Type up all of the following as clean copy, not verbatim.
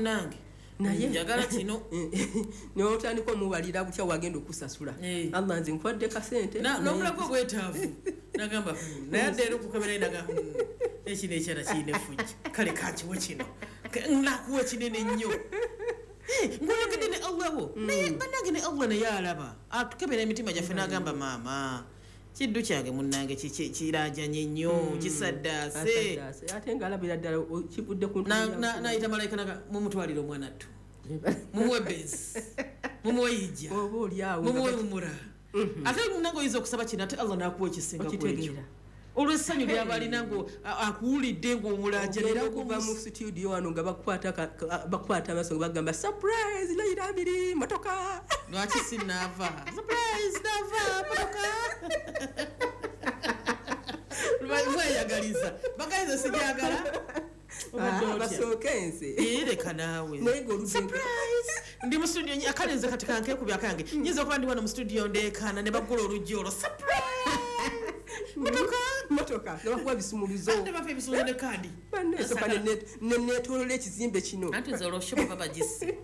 Munnange, Naye- njagala kino. Notandika omubalira butya wagenda okusasula. Eh. Allah, nze nkwadde kasente. N'omulago obwetaavu nagamba, naye adde era okukebera nagamba, ekino ekyana kirina effujjo, kale kankiwe kino. Nakuwa kinene nnyo." Eh, ng'oyogedde ne Allah wo, naye bannange ne Allah naye alaba, atukebera emitima gyaffe n'agamba, "Maama, kiddu kyange munnange kirajanye nnyo, kisaddaase." Asaddaase. Ate ng'alabira ddala kivudde ku Nayita malayika naga, "Mumutwalire omwana ttu, mumuwe bensi, mumuwe yijja, oba oli awo mumuwe mumura." Ate munange oyinza okusaba kino, ate Allah nakuwa ekisinga ku ekyo, Okitegeera. olw'essanyu lyaba alina ngo akuwulidde Ogenda okuva mu ng'omulajanira. studio wano nga bakukwata bakukwata amaaso nga bagamba, "Surprise, Layira Abiri, motoka." Lwaki sinaava? Surprise, naava motoka. Mweyagaliza bagaliza, sijagala. Obadde Ah, otya? basooke nze. Eh, leka naawe. Naye ng'oludde Surprise, ndi mu studio, akalenze kati kankekubya akange, nyinza okuba ndi wano mu studio ndeekaana ne baggula oluggi olwo, surprise, motoka. Motoka nga bakuwa bisumuluzo. Ate bapa ebisumuluzo ne kaadi. Bannesooka neneetolola ekizimbe kino. Anti nze olwo shoba bagisse.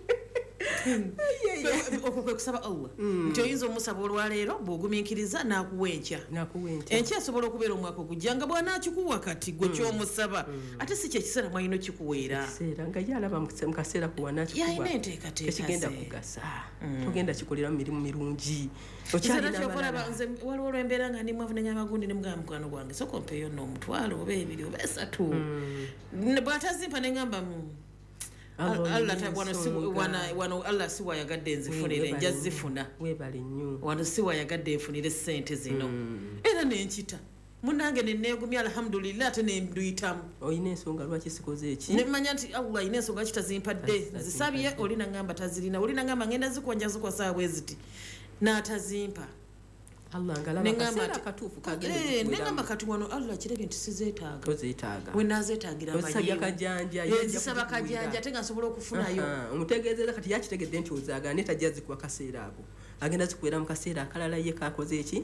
Ye, ye. Okwo kwe kusaba Allah, nti oyinza omusaba olwaleero, bw'ogumiikiriza n'akuwa enkya. Nakuwa enkya. Enkya esobola okubeera omwaka ogujja, nga bw'anaakikuwa kati gwe kyomusaba, ate si kyekiseera mwalina okikuweera. Ekiseera nga ye alaba mu kaseera kuwanakikuwa Yalina enteekateeka tekigenda ze. kugasa, togenda kikolera mu mirimu mirungi. Ekiseera Okyalina kyokolaba abalala. nze waliwo olwembeera nga ndi mwavu, nenyama gundi, nemugamba, "Mukwano gwange, soka ompeeyo nno omutwalo oba ebiri oba esatu." Bw'atazimpa neŋŋamba, Allah, Allah olina wano si- ensonga. wano Allah si wayagadde nzifunire, Weebale nja nnyo. zifuna. Weebale nnyo. Wano si wayagadde nfunire sente zino, era nenkita munange neneegumya, alhamdulillah, ate nenduyitamu. Olina ensonga lwaki sikoze eki. Nemanya nti Allah alina ensonga ki tazimpadde. Tazimpadde. Nzisabye, oli nagamba tazirina, oli nagamba ngenda zikuwa, nja zikuwa saa bwe ziti, n'atazimpa. Allah ngalaba Neŋŋamba kaseera nti- akatuufu kagenda Eh, zikuweramu. neŋŋamba kati wano Allah kirabye nti sizeetaaga. Tozeetaaga. Wenazeetaagira. Ozisabye kajanja, ye ajja Nzisaba kuzikuwera. kajanja, ate nga nsobola okufunayo. Aha, omutegeezeza kati yakitegedde nti ozaagala, naye tajja zikuwa kaseera ako, agenda zikuwera mu kaseera akalala ye kakoze eki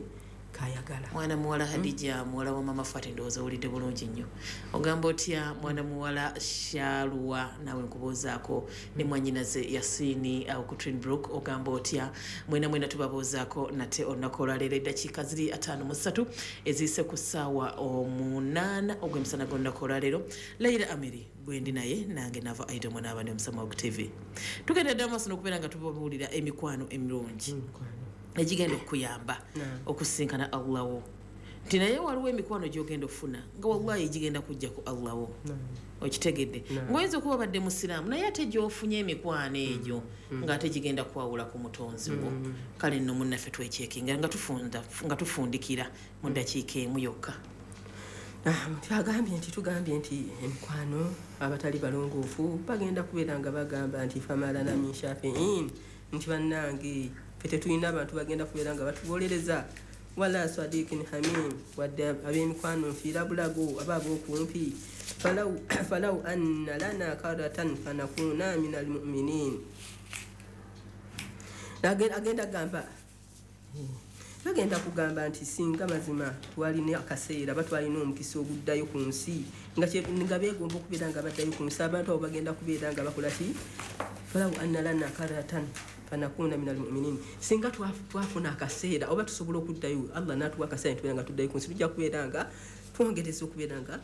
kayagala. Mwana muwala Hadija, muwala wa mama Fati, ndowooza owulidde bulungi nnyo. Ogamba otya, mwana muwala Shaluwa? Naawe nkubuuzaako, ne mwanyinaze Yasini awo ku Twinbrook, ogamba otya? Mwena mwena tubabuuzaako nate olunaku olwaleero. Eddakiika ziri 53 eziyise ku ssaawa 8 ogw'emisana g'olunaku olwaleero. Laira Amiri gwendi naye, nange nava Aido Mwanaaba ne Omusamawog TV. Tugenda dda maaso n'okubeera nga tubabuulira emikwano emirungi egigenda okukuyamba okusinkana Allah wo, nti naye waliwo emikwano gyogenda okufuna nga wallahi gigenda kujja ku Allah wo. Okitegedde? Ngaoyinza okuba obadde musiraamu, naye ate gyofunye emikwano egyo ng'ate gigenda kwawula ku mutonzi wo. Kale nno munnaffe, twekyekinga nga nga tufundikira mu ddakiika emu yokka. Ah, agambye nti tugambye nti emikwano abatali balongoofu bagenda kubeera nga bagamba nti famalana min shafiin, nti bannange ffe tetulina abantu bagenda kubeera nga batuwolereza, wala sadikin hamim, wadde ab'emikwano nfiira bulago aba ab'okumpi. Falau anna lana karatan fanakuna min almuminin. Agenda gamba, bagenda kugamba nti singa mazima twalina akaseera, ba twalina omukisa oguddayo ku nsi, nga beegomba okubeera nga baddayo ku nsi. Abantu abo bagenda kubeera nga bakola ki? Falau anna lana karatan fanakuna min almuminin, singa twafuna akaseera oba tusobola okuddayo, Allah natuwa akaseera nitubeera nga tuddayo ku nsi, tujja kubeera nga twongereza okubeera nga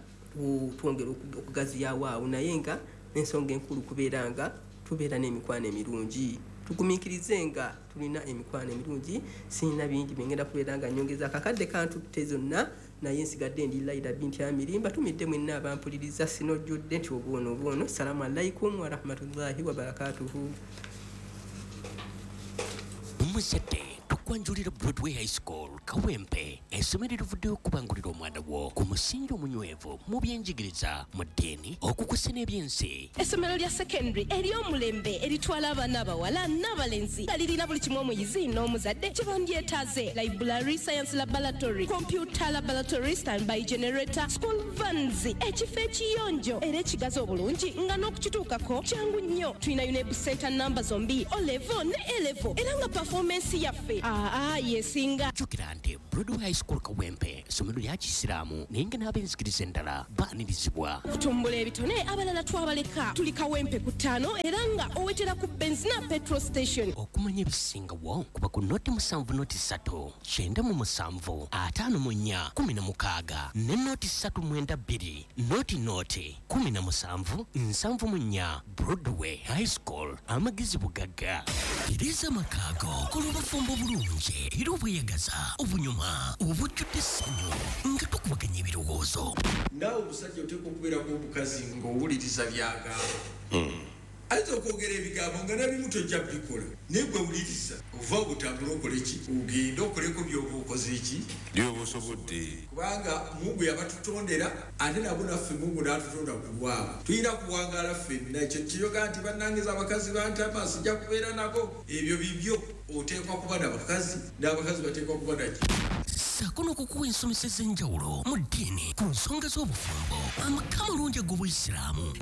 twongera okugaziyawo awo. Naye nga ensonga enkulu kubeera nga tubeera n'emikwano emirungi, tugumiikirize nga tulina emikwano emirungi. Sirina bingi byengenda kubeera nga nyongeza, akakadde kantutte zonna, naye nsigadde ndi Laira binti Amiri, mbatumidde mwenna abampuliriza, sinojjudde nti obwono obwono. Salaamu alaikum warahmatullahi wabarakatuhu. Omuzadde, tukwanjulira Broadway High School Kawempe, essomero erivuddeyo okubangulira omwana wo ku musingi omunywevu mu byenjigiriza, mu ddiini, okukusa n'ebyensi. Essomero lya secondary ery'omulembe eritwala abaana abawala n'abalenzi, nga lirina buli kimu omuyizi n'omuzadde kye bandyetaaze: library, science laboratory, computer laboratory, standby generator, school vans, ekifo ekiyonjo era ekigazi obulungi nga n'okukituukako kyangu nnyo. Tulina UNEB center namba zombi, O level ne A level, era nga performance yaffe Aa, yesinga. Jjukira nti Broadway High School Kawempe ssomero lya Kisiraamu, naye nga n'ab'enzikiriza endala baanirizibwa. Kutumbula ebitone, abalala twabaleka. Tuli Kawempe ku 5 era nga owetera ku Benzina petrol station. Okumanya ebisingawo kuba ku 0 7 0 3 97 54 16 ne 0 3 9 2 0 0 17 74. Broadway High School, amagezi bugagga. Tereza amakaago, kola obufumbo bulungi era obweyagaza, obunyuma, obujjudde essanyu nga tukubaganya ebirowoozo. Naawe omusajja oteekwa okubeerako omukazi ng'owuliriza byagamba. Ayinza okwogera ebigambo nga nabimu tojja bikola, naye gwe wuliriza, ova obutambula okole ki, ogende okoleko byoba okoze ki byoba osobodde. Kubanga Mungu yabatutondera, ate nabo naffe Mungu n'atutonda ku lwabwe. Tulina kuwangaala ffenna. Ekyo kiyoga nti bannangiza abakazi bantama, sijja kubeera nabo, ebyo bibyo. Oteekwa kuba nabakazi, n'abakazi bateekwa kuba naki. Ssaako n'okukuwa ensomesa ez'enjawulo mu ddiini ku nsonga z'obufumbo, amaka amalungi ag'obuyisiraamu.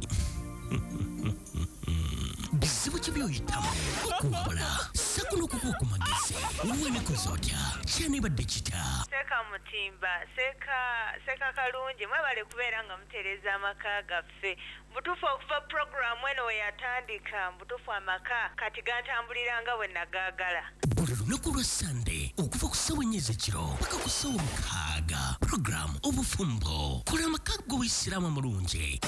Bizibu ki by'oyitamu? Okuwabula ssaako n'okukuwa ku magezi. Wenekoza otya? Kyanibadde kita? Seeka Mutimba, seeka, seeka Kalungi, mwebale kubeera nga mutereeza amaka gaffe. Mubutuufu, okuva puroguramu eno we yatandika, mubutuufu amaka kati gantambulira nga bwe nagaagala. Buli lunaku lwa Sande okuva ku ssaawa 4 ez'ekiro paka ku ssaawa 6, puroguramu Obufumbo, kola amaka g'obuyisiraamu amalungi.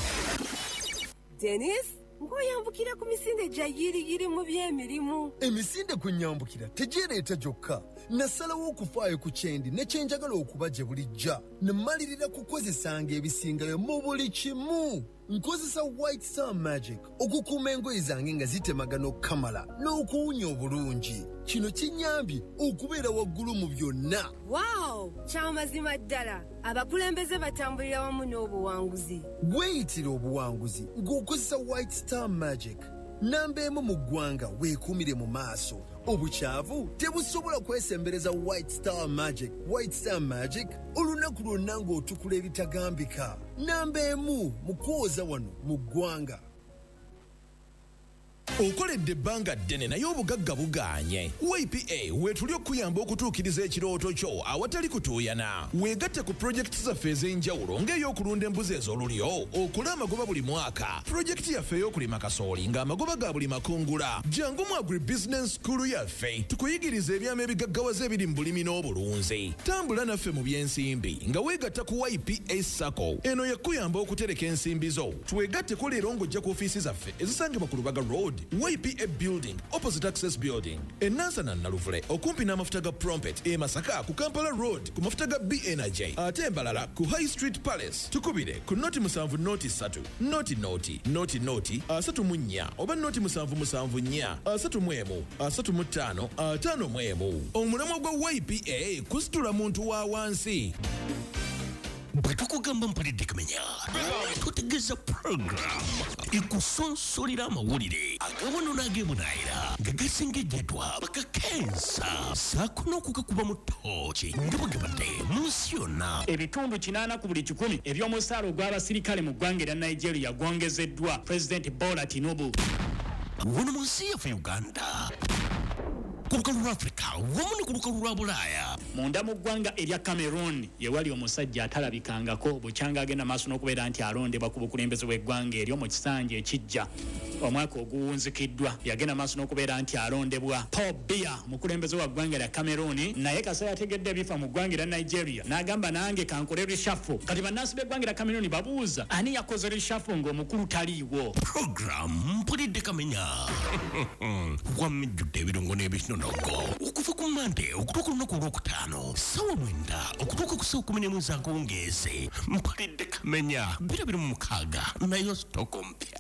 Denis, ng'oyambukira ku misinde gya yiriyiri mu by'emirimu. Emisinde kwe nyambukira tegyereeta gyokka. Nasalawo okufaayo ku kyendi ne kyenjagala okuba gye bulijja, ne mmalirira kukozesanga ebisingayo mu buli kimu. Nkozesa White Star Magic okukuuma engoye zange nga zitemagana okukamala n'okuwunya obulungi. Kino kinnyambye okubeera waggulu mu byonna. Waawo, kyamazima ddala, abakulembeze batambulira wamu n'obuwanguzi. Weeyitira obuwanguzi ng'okozesa White Star Magic. Namba 1 mu ggwanga, weekuumire mu maaso. Obukyavu tebusobola kwesembereza White Star Magic. White Star Magic, olunaku lwonna ng'otukula ebitagambika. Namba 1 mu kwoza wano mu ggwanga. Okoledde ebbanga ddene naye obugagga bugaanye. YPA weetuli okuyamba okutuukiriza ekirooto kyo awatali kutuuyana. Weegatte ku pulojekiti zaffe ez'enjawulo, ng'ey'okulunda embuzi ez'olulyo okole amagoba buli mwaka, pulojekiti yaffe ey'okulima kasooli ng'amagoba ga buli makungula. Jangu mu Agribusiness School yaffe tukuyigiriza ebyama ebigaggawaza ebiri mu bulimi n'obulunzi. Tambula naffe mu by'ensimbi nga weegatta ku YPA SACCO. Eno yakuyamba okutereka ensimbi zo. Twegatteko leero ng'ojja ku ofiisi zaffe ezisangibwa ku Lubaga Road, YPA Building, opposite Access Building, enansana Naluvule okumpi n'amafuta ga Prompet, e Masaka ku Kampala Road ku mafuta ga B Energy, ate embalala ku High Street Palace. Tukubire ku 0 7 0 3 0 0 0 0 34 oba 0 7 7 4 31 35 51. Omulamwa gwa YPA kusitula muntu wa wansi. Bwe tukugamba Mpulidde Kamenya, tutegeeza puroguramu ekusonsolera amawulire agawano n'ag'ebunaayira nga gasengejjeddwa bakakensa, saako n'okugakuba mu ttooki nga bwe gabadde mu nsi yonna. Ebitundu 80 ku buli 100 eby'omusaala ogw'abasirikale mu ggwanga erya Nigeria gwongezeddwa Pulezidenti Bola Tinubu. Wano mu nsi yaffe Uganda, ku lukalu lwa Afirika wamu ne ku lukalu lwa Bulaaya. Munda mu ggwanga erya Cameroon ye wali omusajja atalabikangako bukyanga agenda maaso n'okubeera nti alondebwa ku bukulembeze bw'eggwanga eryo mu kisanja ekijja. Omwaka oguwunzikiddwa yagenda maaso n'okubeera nti alondebwa Paul Biya, mukulembeze wa ggwanga lya Cameroon. Naye kasa yategedde ebifa mu ggwanga erya Nigeria n'agamba, "Nange kankole reshuffle." Kati bannansi b'eggwanga erya Cameroon babuuza ani yakoze reshuffle ng'omukulu taliiwo. Puroguramu Mpulidde Kamenya wamijjudde ebirungo n'ebinonogo okuva ku Mande okutuuka olunaku olwokutaano ssaawa 9 okutuuka ku ssaawa 11 ez'akawungeezi. Mpulidde Kamenya 2026, nayo sitoko mpya.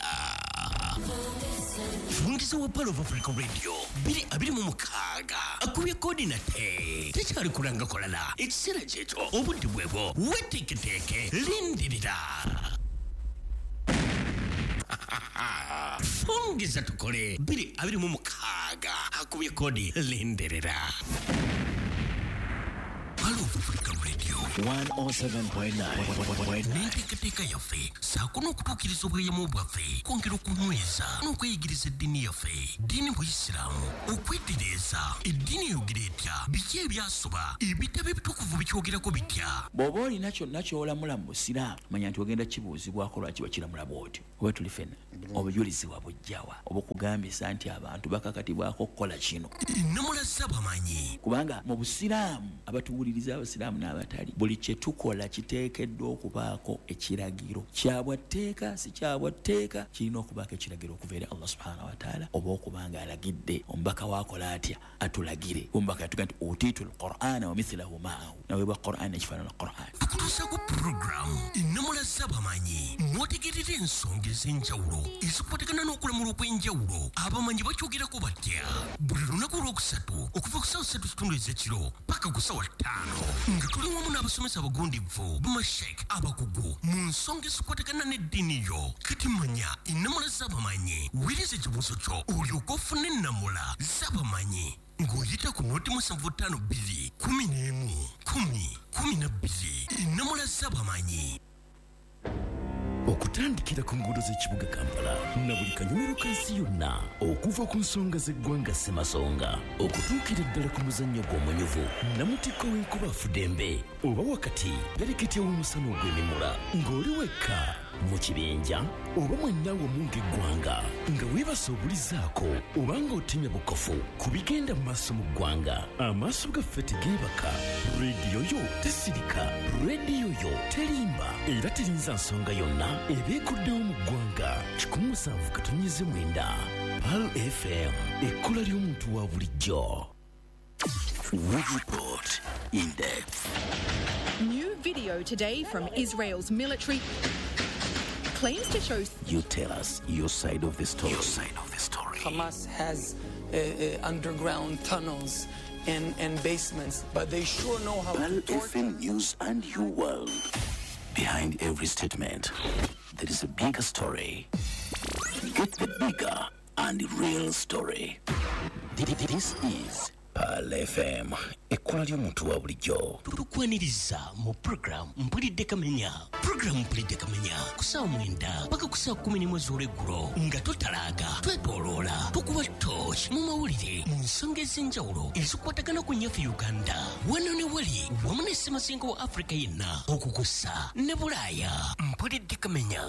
Fungiza wa Pearl of Africa Radio 2026 akubye kodi nate tekyali kulanga kolala. Ekiseera kyekyo, obudde bwebwo, weteeketeeke, lindirira. Fungiza tukole 2026 akubye kodi, lindirira. Pearl of Africa Radio 107.9. N'enteekateeka yaffe ssaako n'okutuukiriza obweyamo bwaffe, kwongera okunyweza n'okweyigiriza eddiini yaffe, ddiini buyisiraamu, okwetereeza eddiini eyogera etya, biki ebyasoba, ebitabo ebitukuvu bikyogerako bitya. Bw'oba olina kyonna ky'olamula mu busiraamu, manya nti ogenda kibuuzibwako lwaki wakiramula bw'otyo. Oba tuli ffenna, obujulizi wabujjawa obukugambisa nti abantu bakakatibwako okukola kino? Ennamula z'abamanyi. Kubanga mu busiraamu, abatuwuliriza abasiraamu n'abatali, buli kye tukola kiteekeddwa okubaako ekiragiro kyabwa tteeka, si kyabwa tteeka, kirina okubaako ekiragiro okuva eri Allah subhanahu wataala, oba okuba nga alagidde omubaka waakola atya atulagire. Omubaka yatuga nti utiitu lqur'ana wa mithilahu maahu, naweebwa Qur'an ekifaanana Qur'an. Tukutuusaako puroguramu ennamula z'abamanyi, mw'otegeerera ensonga ez'enjawulo ezikwatagana n'okulamula okw'enjawulo. Abamanyi bakyogerako batya? Buli lunaku olwokusatu okuva ku ssaawa 3:30 ez'ekiro paka ku ssaawa 5, nga tuli wamu n'abasomesa abagundivu, bamashek abakugu mu nsonga ezikwatagana n'eddiini yo. Kati manya ennamula z'abamanyi, weereza ekibuuzo kyo olyoke ofune ennamula z'abamanyi ng'oyita ku 075 2 11 10 12. Ennamula z'abamanyi. Okutandikira ku nguudo z'ekibuga Kampala na buli kanyomero ka nsi yonna, okuva ku nsonga z'eggwanga ssemasonga okutuukira ddala ku muzannyo gw'omunyuvu namutikko w'enkuba afudembe, oba wakati pereketya w'omusana ogw'emimula, ng'oli wekka, mu kibinja oba mwenna wamu ng'eggwanga, nga weebasa obulizaako oba ng'otemya bukofu ku bigenda mu maaso mu ggwanga, amaaso gaffe tegeebaka, rediyo yo tesirika, rediyo yo terimba era terinza nsonga yonna eba ekuddewo mu ggwanga. 107.9 Pearl FM, ekkula ly'omuntu wa bulijjo. We report in depth. New video today from Israel's military claims to show You tell us your side of the story. Your side of the story. Hamas has underground tunnels and basements, but they sure know how Pearl to torture. FM News and your world. Behind every statement, there is a bigger story. Get the bigger and real story. This is Pearl FM, ekkula ly'omuntu wa bulijjo. Tukwaniriza mu puroguramu Mpulidde Kamenya. Puroguramu Mpulidde Kamenya ku ssaawa 9 paka ku ssaawa 11 z'olweggulo, nga totalaaga, twetooloola, tukuba torch mu mawulire mu nsonga ez'enjawulo ezikwatagana ku nnyaffe Uganda, wano ne wali, wamu ne ssemazinga wa Afrika yenna, okukussa ne Bulaaya. Mpulidde Kamenya.